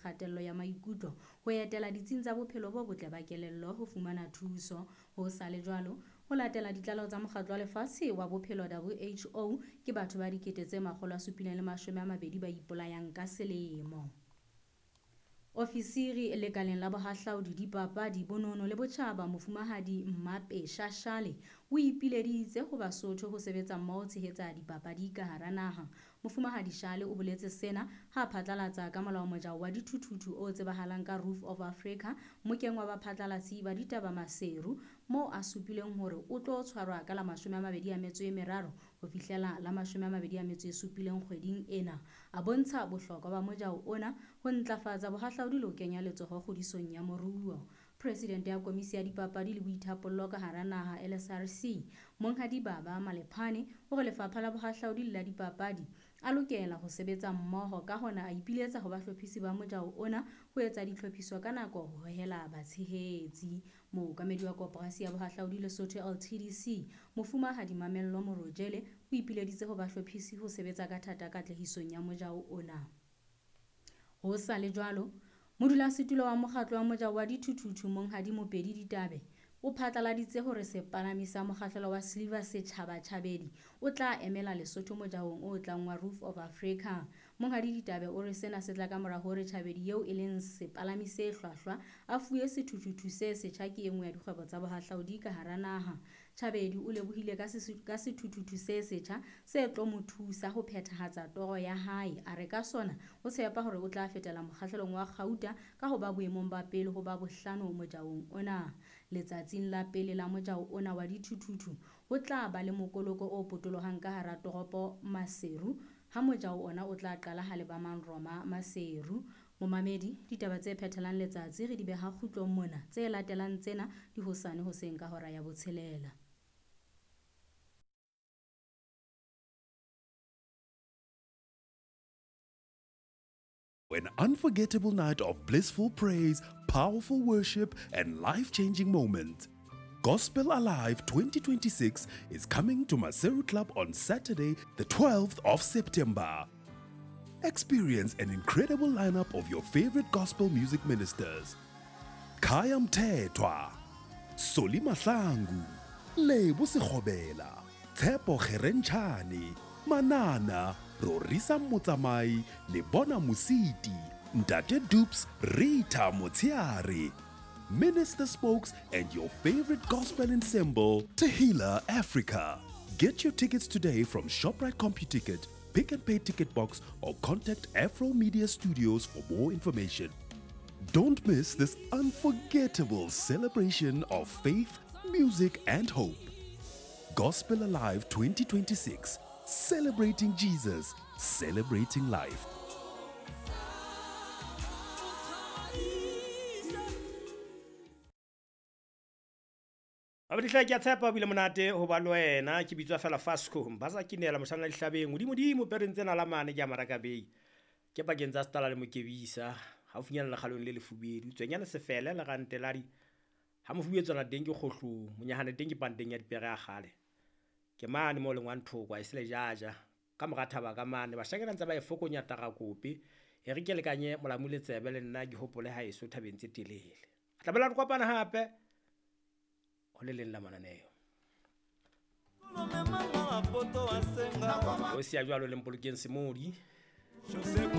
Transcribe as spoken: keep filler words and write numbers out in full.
kgatello ya maikutlo ho etela ditsing tsa bophelo bo botle ba kelello ho fumana thuso. Ho sa le jwalo, ho latela ditlaleho tsa Mokgatlo wa Lefatshe wa Bophelo W H O, ke batho ba dikete tse makgolo a supileng le mashome a mabedi ba ipolayang ka selemo. Ofisiri lekaleng la bohahlaudi, dipapadi, bonono le botjhaba, Mofumahadi Mmape Shashale o ipileditse ho Basotho ho sebetsa mmoho tshehetsa dipapadi ka hara naha. Mofumahadi Shale o boletse sena ha phatlalatsa ka molao mojao wa dithuthuthu o tsebahalang ka Roof of Africa mokeng wa baphatlalatsi ba ditaba Maseru, moo a supileng hore o tlo tshwarwa ka la mashome a mabedi a metso e meraro ho fihlela la mashome a mabedi a metso e supileng kgweding ena. A bontsha bohlokwa ba mojao ona ho ntlafatsa bohahlaudi le ho kenya letsoho kgodisong ya moruo. President ya Komisi ya Dipapadi le Boithapollo ka hara naha L S R C, Monghadi Baba Malephane, o re lefapha la bohahlaudi le la dipapadi a lokela ho sebetsa mmoho, ka hona a ipiletsa ho bahlophisi ba mojao ona ho etsa ditlhophiso ka nako ho hohela batshehetsi. Mookamedi wa Koporasi ya Bohahlaudi Lesotho L T D C, Mofumahadi Mamello Morojele, o ipileditse ho bahlophisi ho sebetsa ka thata katlehisong ya mojao ona. Ho sa le jwalo, modulasetulo wa mokgatlo wa mojao wa dithuthuthu Monghadi Mopedi Ditabe o phatlaladitse hore sepalami sa mokgahlelo wa Silver Setjhaba Tjhabedi o tla emela Lesotho mojaong o tlang wa Roof of Africa. Monghadi Ditabe o re sena se tla ka mora hore Tjhabedi eo e leng sepalami se hlwahlwa a fuwe sethuthuthu se setjha ke e nngwe ya dikgwebo tsa bohahlaudi ka hara naha. Tjhabedi o lebohile ka sesu-, ka sethuthuthu se setjha se tlo mo thusa ho phethahatsa toro ya hae. A re ka sona o tshepa hore o tla fetela mokgahlelong wa kgauta ka ho ba boemong ba pele ho ba bohlano mojaong ona. Letsatsing la pele la mojao ona wa dithuthuthu ho tla ba le mokoloko o potolohang ka hara toropo Maseru, ha mojao ona o tla qala ha leba Manroma Maseru. Momamedi, ditaba tse phethelang letsatsi re di beha kgutlong mona, tse latelang tsena di hosane hoseng ka hora ya botshelela. An unforgettable night of blissful praise, powerful worship, and life-changing moments. Gospel Alive twenty twenty-six is coming to Maseru Club on Saturday, the twelfth of September. Experience an incredible lineup of your favorite gospel music ministers. Khaya Mthethwa, Solly Mahlangu, Lebo Sekgobela, Tshepo Kgerentshane, Manana, Rorisa Motsamai, Lebona Mositi, Ntate Dupes, Rita Motsiare, Minister Spokes, and your favorite gospel ensemble, Tehila Africa. Get your tickets today from ShopRite CompuTicket, Pick and Pay Ticket Box, or contact Afro Media Studios for more information. Don't miss this unforgettable celebration of faith, music, and hope. Gospel Alive twenty twenty-six, celebrating Jesus, celebrating life. Babadihla ke a tshepa o bile monate ho ba le wena. Ke bitswa fela Fasco Mbaza ke neela moshana dihlabeng hodimodimo pereng tsena la mane ke a Maraka Bay. Ke pakeng tsa Setala le Mokebisa, haufinyana le kgalong le lefubedu. Tswenyana sefele le rante la di ha mofubedu tswana teng ke kgohlong, monyahane teng ke panteng ya dipere ya kgale. Ke mane mo leng wa nthoko a e sele jaja ka mora thaba ka mane bashakela ntse ba e fokonya tarakope. E re ke lekanye molamu le tsebe le nna ke hopole ha eso thabeng tse telele. Tla bela re kopana hape ho le leng la mananeo. O siya jwalo le Mpolokeng Semodi.